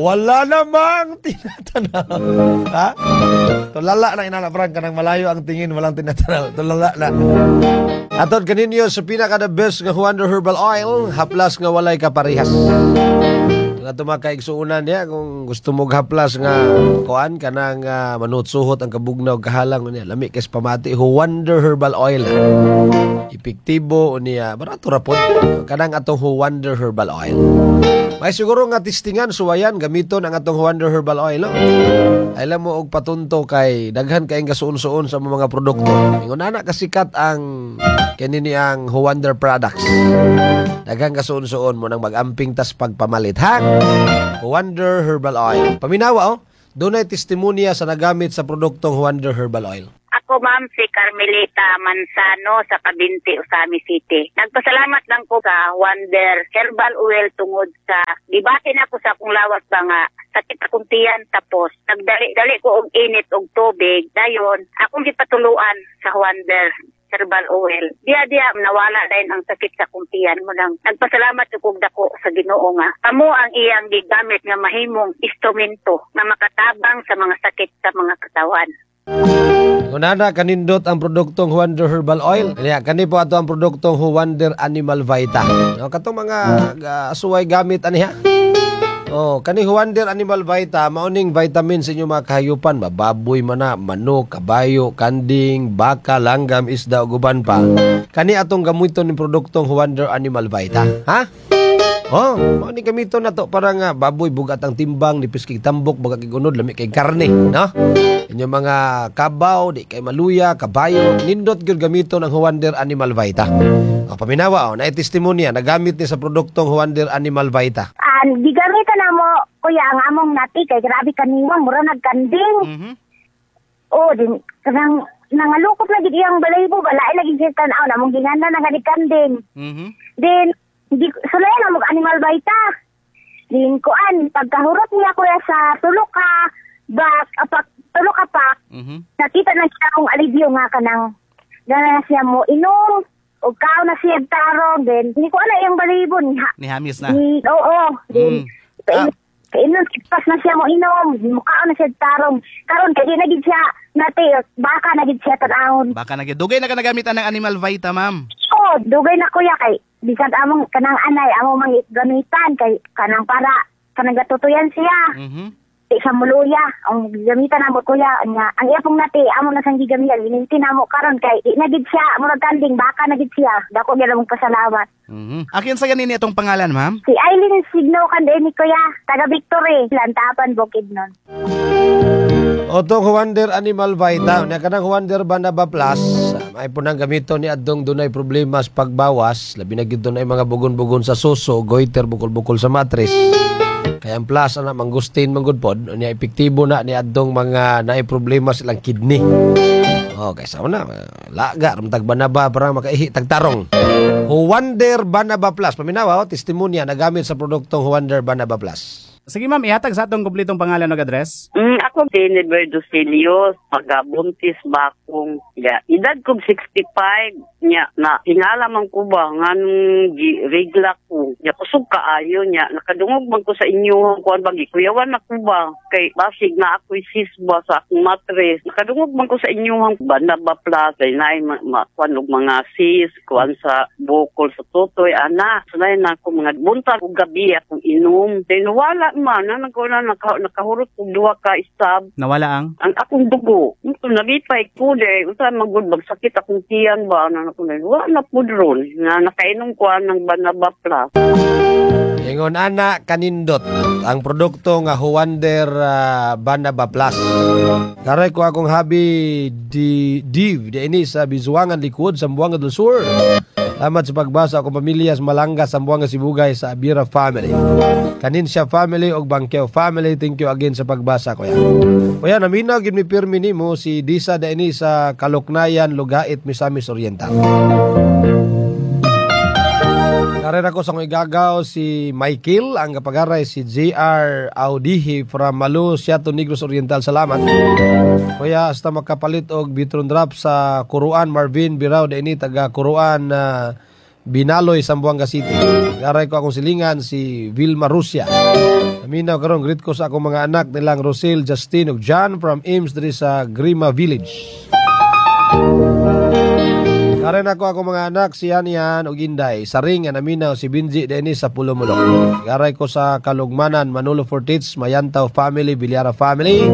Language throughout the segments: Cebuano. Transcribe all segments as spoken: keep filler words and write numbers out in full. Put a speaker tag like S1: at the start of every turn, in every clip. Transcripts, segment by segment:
S1: Wala namang tinatanaw. Ha? Tulala na inana, Frank, kanang malayo ang tingin, walang tinatanaw. Tulala na. Atod kaninyo sa pinaka the best nga Wonder Herbal Oil, haplas nga walay kaparehas. Nga tumakaigsuunan niya kung gusto mo haplas nga kuan kanang uh, manutsuhot ang kabugnaw kahalang niya lami kay pamati, Wonder Herbal Oil, epektibo niya, barato ra pod kanang atong Wonder Herbal Oil. May siguro nga testingan, suwayan, gamiton ang atong Wonder Herbal Oil, no? Alam mo og patunto kay daghan kayong kasuon-suon sa mga produkto. Ingon ana kasikat ang kini ni ang Wonder products. Daghan kasuon-suon mo nang mag-amping tas pagpamalit, ha? Wonder Herbal Oil. Paminawa, oh. Dunay testimonya sa nagamit sa produktong Wonder Herbal Oil.
S2: Ako, ma'am, si Carmelita Manzano sa Cavinti, Ozamiz City. Nagpasalamat lang ko sa Wonder Herbal Oil tungod sa gibati na ko sa akong lawas ba nga sakit akong tiyan, tapos nagdali-dali ko og init og tubig, dayon akong gipatuluan sa Wonder Herbal Oil. Diya diya nawala din ang sakit sa akong tiyan mo nang nagpasalamat ko og dako sa Ginoo nga kamo ang iyang gigamit nga mahimong instrumento nga makatabang sa mga sakit sa mga katawan.
S1: Kunana kanindot ang produktong Wonder Herbal Oil. Kanya kani po ato ang produktong Wonder Animal Vita. No, katong mga uh, suway gamit ani, ha. Oh, kani Wonder Animal Vita mauning vitamin sa inyong mga kahayupan, mababoy man na, manok, kabayo, kanding, baka, langgam, isda ug uban pa. Kani atong gamiton ning produktong Wonder Animal Vita. Ha? Oh, mao ni gamiton na to para nga baboy bugat ang timbang, nipis kay tambok, baga kay gunod, lami kay karne, no? Inyong mga kabaw, di kay maluya, kabayo, nindot gyud gamiton ang Wonder Animal Vita. O, paminawa, oh, na testimonya nagamit ni sa produktong Wonder Animal Vita.
S3: An gigamitan na mo, kuya, ang among nati kay grabe kaniwang, mura nagkanding.
S4: Mhm.
S3: Oh, din kanang nangalukot na gid iyang balaybo, balay lagi siya tan-aw na mong gingana na nga kanding.
S4: Mhm.
S3: Din di sulay na mo Animal Vita. Din kuan pagkahurot niya, kuya, sa tulo ka bak apak tulo ka pak
S4: Mhm.
S3: nakita na siya akong alivio nga kanang gana na siya mo inom o kaon na siya tarong, then hindi ko ala iyang balahibo ni ha,
S4: Nihamis na.
S3: ni oo, then
S4: Mm. Ah.
S3: kainon pas na siya mo inom, mukaon na siya tarong karon kay di na gid siya nati, baka na gid siya tan-awon.
S4: Baka na dugay na ka nagamitan ng Animal Vita, ma'am.
S3: Oh, dugay na, kuya, kay bisan among kanang anay amo mang gamitan kay kanang para kanang gatutuyan siya.
S4: Mhm.
S3: Di siya muluya ang gamitan namo, kuya, nya ang iya pong nati amo na sang gigamitan, gininti namo karon kay di na gid siya murag kanding, baka na gid siya. Dako gyud among pasalamat.
S4: Mhm. Akin sa ganin itong pangalan, ma'am?
S3: Si Eileen Signo kan ni, kuya, taga Victory, Lantapan, Bukidnon.
S1: Otong Wonder Animal Vita, nya kanang Wonder Banaba Plus, ay po nang gamiton ni adtong dunay problema sa pagbawas, labi na gid dunay mga bugon-bugon sa suso, goiter, bukol-bukol sa matris. Kaya ang plus ana mangustin manggod pod, nya epektibo na ni adtong mga naay problema silang kidney. Oh, kaysa una, laga ramtag banaba para makaihi tagtarong. Wonder Banaba Plus, paminawa, oh, testimonya nagamit sa produktong Wonder Banaba Plus.
S4: Sige, ma'am, ihatag sa atong kumpletong pangalan ug address.
S5: Mm, ako si Neberdo Celios, pagabuntis bakong ya, edad kog sixty-five nya na hinala man ko ba nganong gi regla ko nya kusog kaayo, nya nakadungog man ko sa inyo kuan ba, gikuyawan na ko ba kay basig na ako'y sis ba sa akong matres. Nakadungog man ko sa inyo Banaba Plus kay naay ma, ma, kuan og mga sis kuan sa bukol sa tutoy ana, sunay na ako mga buntag ug gabi akong inom, then wala man na nagko na naka, nakahurot og duha ka stab.
S4: Nawala ang
S5: Ang akong dugo. Ito nalipay ko de usa magud magsakit akong tiyan ba na ako na wala na pud ron nga nakainom ko ng Banaba Plus.
S1: Ingon ana kanindot ang produkto nga Huwander uh, Banaba Plus. Karay ko akong habi di Div di ini sa Bizuangan Likod, Zamboanga del Sur. Salamat sa pagbasa akong pamilya sa Malanga, Zamboanga Sibugay, sa Abira family. Kaninsya family ug Bangkeo family, thank you again sa pagbasa, kuya. Kuya, naminaw gid mi pirmi nimo, si Disa da ini sa Kaluknayan, Lugait, Misamis Oriental. Karera ko sa kong igagaw si Michael, ang kapagaray si J R. Audihi from Malu, Siato, Negros Oriental. Salamat. Kuya, hasta makapalit og Bitron Drop sa Kuruan, Marvin Birao, da ini taga Kuruan, uh, Binaloy, Zamboanga City. Garay ko akong silingan si Vilma Rusia. Naminaw karon, greet ko sa akong mga anak nilang Rosel, Justin ug John from Ames diri sa Grima Village. Karen ako akong mga anak si Anian ug Inday. Saring nga naminaw si Binji Dennis sa Pulomulok. Garay ko sa Kalugmanan, Manolo Fortits, Mayantaw family, Bilyara family.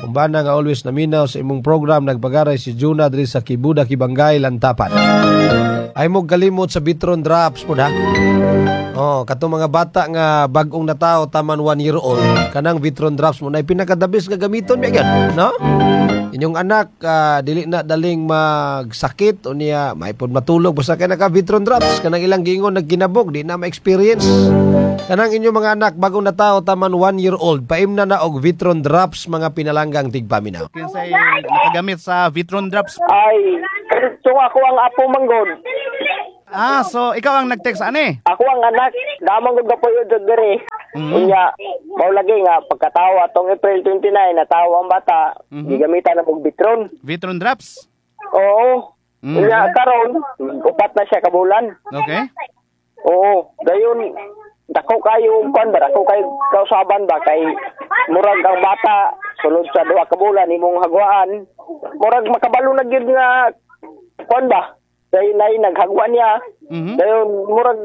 S1: Kumbana nga always naminaw sa imong program, nagpagaray si Juna diri sa Kibuda, Kibangay, Lantapan. Ay mo kalimot sa Vitron Drops po ha. Oh, katong mga bata nga bag-ong natao taman one year old, kanang Vitron Drops mo na pinakadabis nga gamiton mi gyud, no? Inyong anak ah, dili na daling magsakit o niya maipod matulog basta kay naka Vitron Drops, kanang ilang giingon nagkinabog di na ma-experience. Kanang inyong mga anak bagong natao taman one year old, paimna na og Vitron Drops, mga pinalanggang tigpaminaw.
S4: Kinsay nakagamit sa Vitron Drops?
S6: Ay, so ako ang apo manggod.
S4: Ah, so ikaw ang nag-text ani?
S6: Ako ang anak, damang gud kapuyo jud diri.
S4: Mm.
S6: Unya, mao lagi nga pagkatawa tong April twenty-nine, natawa ang bata,
S4: Mhm.
S6: gigamitan na og Vitron.
S4: Vitron Drops?
S6: Oo.
S4: Mm.
S6: Unya karon, upat na siya ka bulan.
S4: Okay.
S6: Oo, dayon dako kayo kwan ba, dako kayo kausaban ba kay murag ang bata sulod sa duha ka bulan imong hagwaan, murag makabalo na gyud nga kwan ba. Dayon nay naghagwa niya.
S4: Mhm.
S6: Dayon murag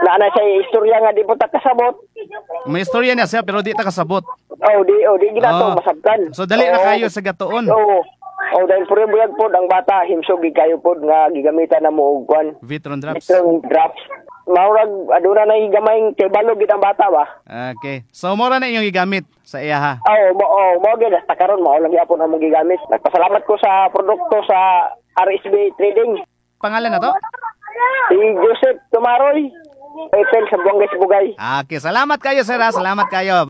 S6: naa na siya istorya nga di po ta kasabot.
S4: May istorya niya siya pero di ta kasabot.
S6: Oh, di oh, di ginato
S4: Oh.
S6: masabtan.
S4: So dali na
S6: Oo.
S4: kayo sa gatuon.
S6: Oo. Oh, dahil puro buyag pod ang bata, himsog gid kayo pod nga gigamitan na mo og kwan.
S4: Vitron Drops.
S6: Vitron Drops. Maurag aduna na gamayng kay balo gid ang bata ba.
S4: Okay. So mora na inyong gigamit sa iya ha.
S6: Oh, mo oh, mo gyud hasta karon mao lang gyapon among gigamit. Nagpasalamat ko sa produkto sa R S B Trading.
S4: Pangalan na to?
S6: Si Joseph Tumaroy. Eiffel sa Buangay Sibugay.
S4: Okay, salamat kayo, sir ha. Salamat kayo.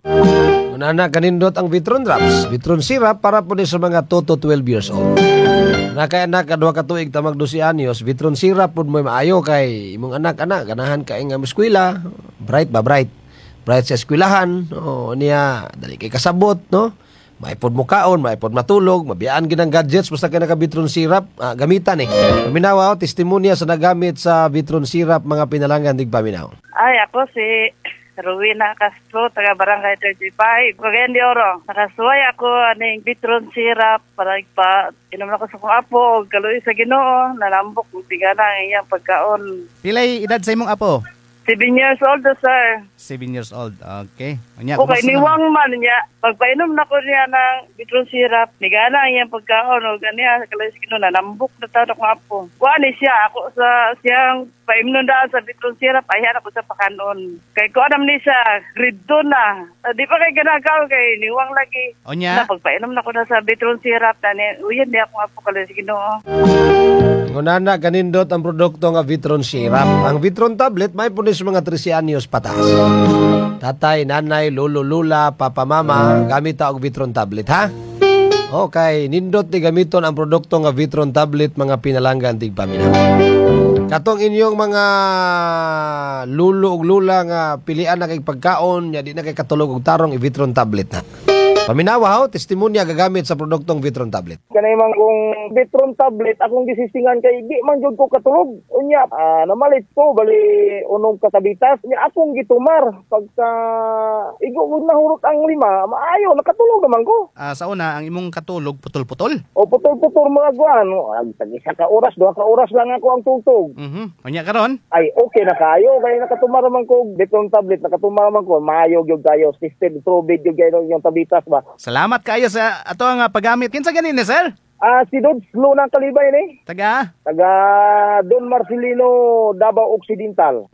S1: Una kanindot ang Vitron Drops. Vitron Syrup para po ni sa mga two to twelve years old. Nakay anak kadua ka tuig tamag dose anyos, Vitron Syrup pud mo maayo kay imong anak anak ganahan kay nga eskwela, bright ba, bright. Bright sa eskwelahan, oh niya dali kay kasabot, no? Maipod mo kaon, maipod matulog, mabiyaan gid ang gadgets basta kay naka Vitron Syrup, ah, gamitan eh. Paminawa, oh, testimonya sa nagamit sa Vitron Syrup, mga pinalanggan tigpaminaw.
S7: Ay, ako si Rowena Castro, taga Barangay thirty-five, Cagayan de Oro. Nakasuway ako aning Vitron Syrup para ipa inom na ko sa kong apo og kaluoy sa Ginoo, nanambok ug tigana ang iyang pagkaon.
S4: Pilay edad sa imong apo?
S7: Seven years old na, sir.
S4: Seven years old. Okay. Unya,
S7: Okay,
S4: kumusta naman?
S7: niwang man niya. Pagpainom na ko niya ng Vitron Syrup, nigana ang iyang pagkaon og ganiya kaluoy sa Ginoo, nanambok na taon akong apo. Kuha ni siya ako sa siyang paimnon daan sa Vitron Syrup, ayan ako sa pakanon. Kay ko anam ni siya, grade two na. Ah, di pa kay ganagaw kay niwang lagi.
S4: Unya,
S7: Na pagpainom na ko na sa Vitron Syrup, na uyan niya akong apo, kaluoy sa Ginoo.
S1: Ngunana kanindot ang produkto nga Vitron Syrup. Ang Vitron Tablet may puno sa mga thirteen anyos pataas. Tatay, nanay, lolo, lula, papa, mama, gamit ta og Vitron Tablet ha. Okay, nindot ni gamiton ang produkto nga Vitron Tablet, mga pinalanggan tigpaminaw. Katong inyong mga lulo ug lula nga pilian na kay pagkaon, nya di na kay katulog og tarong, i-Vitron Tablet na. Paminawa ho, testimonya gagamit sa produktong Vitron Tablet.
S6: Kanay man kung Vitron Tablet akong gisisingan kay di man jud ko katulog. Unya ah, namalit ko bali unom ka tabitas. Unya akong gitumar pagka igo ko nahurot ang lima, maayo nakatulog naman ko.
S4: Ah, sa una, ang imong katulog putol-putol.
S6: O putol-putol mga guan, ag tag isa ka oras, duha ka oras lang ako ang tugtog.
S4: Mhm. Unya karon,
S6: Ay okay na kayo kay nakatumar man ko Vitron Tablet, nakatumar man ko, maayo gyud kayo, system tubig gyud kayo yung tabitas ba.
S4: Salamat kayo sa ato nga paggamit. Kinsa ganin ni sir?
S6: Ah, si Dodds Luna Kalibay ni.
S4: Taga
S6: Taga Don Marcelino, Davao Occidental.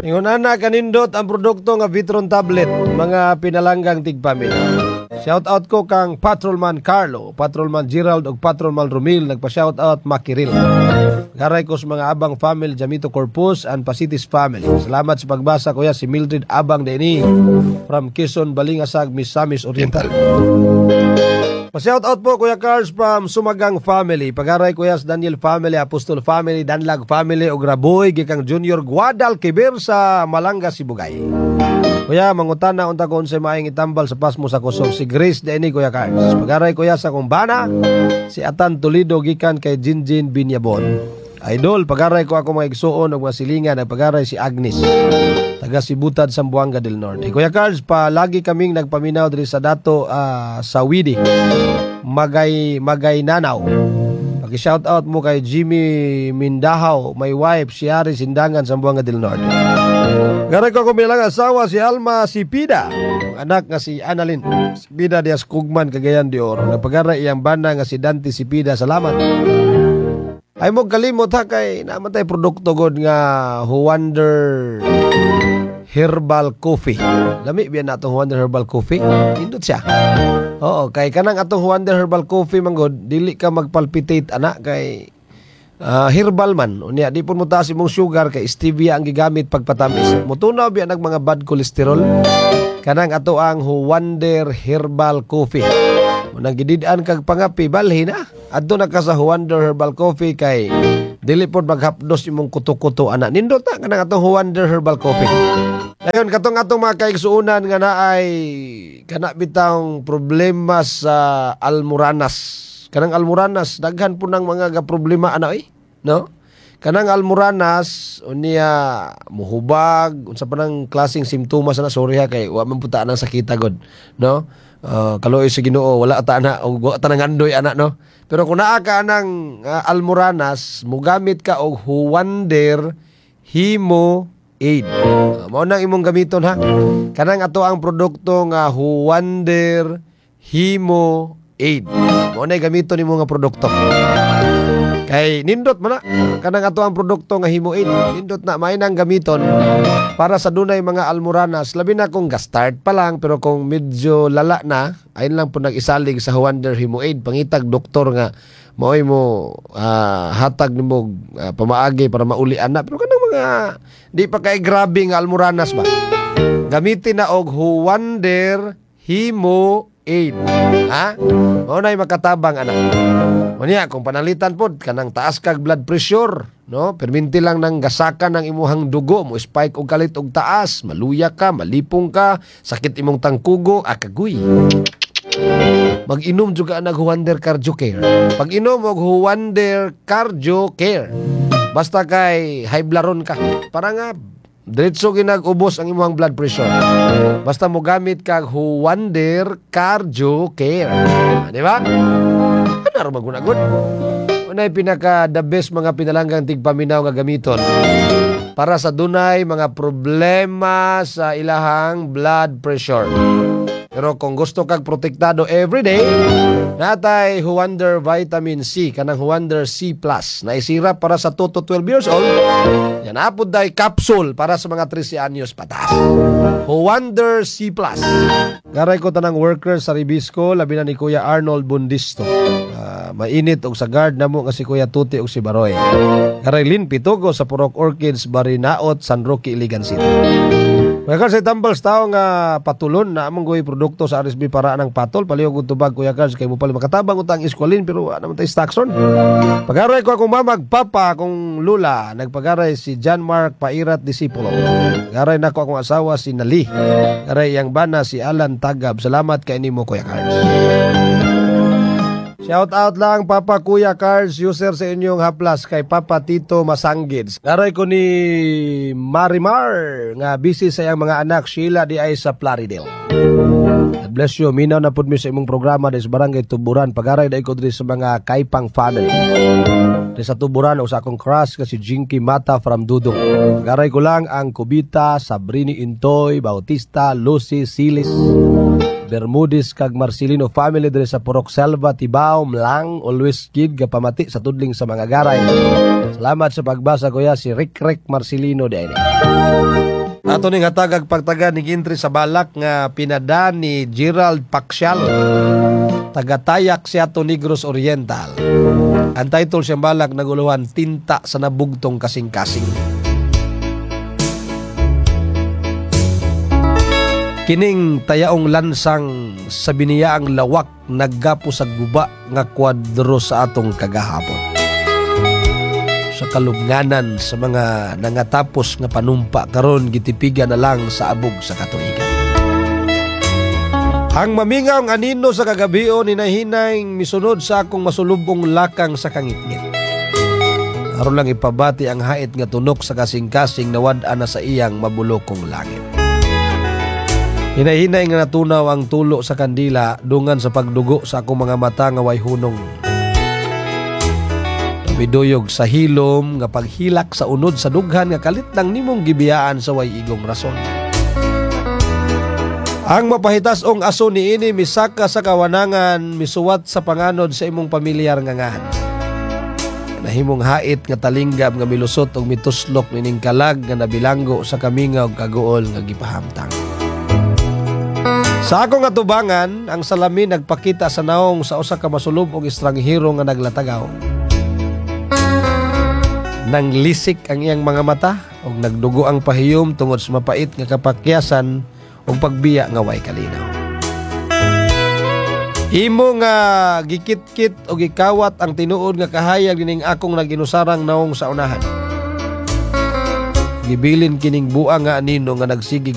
S1: Ingon ana kanindot ang produkto nga Vitron Tablet, mga pinalanggang tigpaminaw. Shout out ko kang Patrolman Carlo, Patrolman Gerald ug Patrolman Romil, nagpa-shout out Makiril. Garay ko sa mga Abang family, Jamito Corpus and Pasitis family. Salamat sa pagbasa, kuya, si Mildred Abang Deni from Quezon, Balingasag, Misamis Oriental. Pa-shout out po, Kuya Cars, from Sumagang family. Pagaray Kuya sa Daniel family, Apostol family, Danlag family ug Raboy gikang Junior Guadalquivir sa Malanga, Sibugay. Kuya, mangutana unta ko unsay maayong itambal sa pasmo sa kusog. Si Grace Deni, Kuya Cars. Pagaray, kuya, sa kumbana si Atan Toledo gikan kay Jinjin Binyabon. Idol, pagaray ko ako mga igsuon og mga silingan, nagpagaray si Agnes. Taga Sibutad, Zamboanga del Norte. Kuya Carls, palagi kaming nagpaminaw diri sa dato ah, sa Widi. Magay Magay Nanaw. Paki-shout out mo kay Jimmy Mindahaw, my wife, si Ari Sindangan, Zamboanga del Norte. Garay ko ako bilang asawa si Alma Sipida. Ang anak nga si Annalyn Sipida dias Kugman, Cagayan de Oro. Nagpagaray iyang bana nga si Dante Sipida. Salamat. Ay mo kalimot ha, kay naman tayo produkto god nga Wonder Herbal Coffee. Lami biyan na atong Wonder Herbal Coffee. Nindot siya. Oo, kay kanang atong Wonder Herbal Coffee man god, dili ka magpalpitate ana kay ah, herbal man. Unya di pud mo taas imong sugar kay stevia ang gigamit pagpatamis. Mutunaw biya nag mga bad cholesterol. Kanang ato ang Wonder Herbal Coffee. Munang gidid-an kag pangapi, balhin na. Adto na ka sa Wonder Herbal Coffee kay dili pod maghapdos imong kuto-kuto ana. Nindot na kanang atong Wonder Herbal Coffee. Dayon katong atong mga kaigsuonan nga naay kana bitawng problema sa almoranas. Kanang almoranas, daghan po ng mga ga problema ana oy, no? Kanang almoranas unya muhubag, unsa pa nang klaseng simptomas ana, sorry ha kay wa man puta nang sakita god, no? Uh, kaluoy sa Ginoo, wala ta na og wa ta nangandoy ana, no? Pero kung naa ka anang uh, almoranas, mugamit ka og Huwander Hemo Aid. Uh, mao nang imong gamiton ha. Kanang ato ang produkto nga Huwander Hemo Aid. Mao nay gamiton nimo nga produkto. Kay nindot man na kanang ato ang produkto nga Hemo Aid. Nindot na may nang gamiton para sa dunay mga almoranas, labi na kung ga-start pa lang, pero kung medyo lala na, ayun lang po nag-isalig sa Wonder Hemo Aid. Pangitag doktor nga maoy mo ah, hatag nimo uh, pamaagi para mauli ana. Pero kanang mga di pa kay grabe nga almoranas ba, gamitin na og Huwander Hemo Aid. Ha? Mao na'y makatabang ana. Unya kung panalitan pod kanang taas kag blood pressure, no? Perminti lang nang gasakan ang imuhang dugo, mo spike og kalit og taas, maluya ka, malipong ka, sakit imong tangkugo, akagoy. Mag-inom juga nag Huwander Cardio Care. Pag-inom og Huwander Cardio Care. Basta kay high blood ka. Para nga diretso ginag-ubos ang imong blood pressure. Basta mo gamit kag Huwander Cardio Care. Ah, di ba? Ano ra magunagod? Unay pinaka the best mga pinalanggang tigpaminaw nga gamiton para sa dunay mga problema sa ilahang blood pressure. Pero kung gusto kag protektado everyday, natay Huwander Vitamin C, kanang Huwander C plus, na isira para sa two to twelve years old. Yan apod day capsule para sa mga thirteen anyos pataas. Huwander C plus. Garay ko tanang workers sa Ribisco, labi na ni Kuya Arnold Bundisto. Ah, mainit og sa guard namo nga si Kuya Tuti og si Baroy. Garay Lin Pitugo sa Purok Orchids, Barinaot, San Roque, Iligan City. Kuya Carl, sa tambal sa tao nga patulon na among goy produkto sa R S B para ng patol. Palihog og tubag, Kuya Carl, kay mo pala makatabang utang eskwalin pero wala naman tayo stockson. Pagaray ko akong mamag papa, akong lula. Nagpagaray si John Mark Pairat Disipulo. Garay nako akong asawa si Nali. Garay iyang bana si Alan Tagab. Salamat kay nimo, Kuya Carl. Shout out lang, Papa Kuya Cars user sa inyong haplas kay Papa Tito Masanggids. Garay ko ni Marimar nga busy sa iyang mga anak Sheila di ay sa Plaridel. God bless you. Minaw na pud mi sa imong programa des Barangay Tuburan. Pagaray dai ko diri sa mga Kaipang family. Diri sa Tuburan o sa akong crush kasi Jinky Mata from Dudong. Pagaray ko lang ang Kubita, Sabrini Intoy, Bautista, Lucy Silis, Bermudez kag Marcelino family diri sa Purok Selva, Tibao, Mlang, always kid gapamati sa tudling sa mga garay. Salamat sa pagbasa, kuya, si Rick Rick Marcelino dahil. Ato ning hatagag pagtaga ni entry sa balak nga pinada ni Gerald Paxial. Tagatayak siya to Negros Oriental. Ang title siyang balak naguluhan Tinta sa Nabugtong Kasing-kasing. Kining tayaong lansang sa biniyaang lawak naggapo sa guba nga kwadro sa atong kagahapon. Sa kalubnganan sa mga nangatapos nga panumpa karon gitipiga na lang sa abog sa katuigan. Ang mamingaw ang anino sa kagabion hinahinay misunod sa akong masulubong lakang sa kangitngit. Aron lang ipabati ang hait nga tunok sa kasing-kasing nawad-an na sa iyang mabulokong langit. Hinay-hinay nga natunaw ang tulo sa kandila dungan sa pagdugo sa akong mga mata nga way hunong. Miduyog sa hilom nga paghilak sa unod sa dughan nga kalit lang nimong gibiyaan sa way igong rason. Ang mapahitas-ong aso niini misaka sa kawanangan, misuwat sa panganod sa imong pamilyar nga ngahan. Nahimong hait nga talinggam nga milusot og mituslok nining kalag nga nabilanggo sa kamingaw ug kaguol nga gipahamtang. Sa akong atubangan, ang salamin nagpakita sa naong sa usa ka masulub og estranghero nga naglatagaw. Nanglisik ang iyang mga mata ug nagdugo ang pahiyom tungod sa mapait nga kapakyasan ug pagbiya nga way kalinaw. Imo nga gikitkit o gikawat ang tinuod nga kahayag nining akong naginusarang naong sa unahan. Gibilin kining buang nga anino nga nagsigig.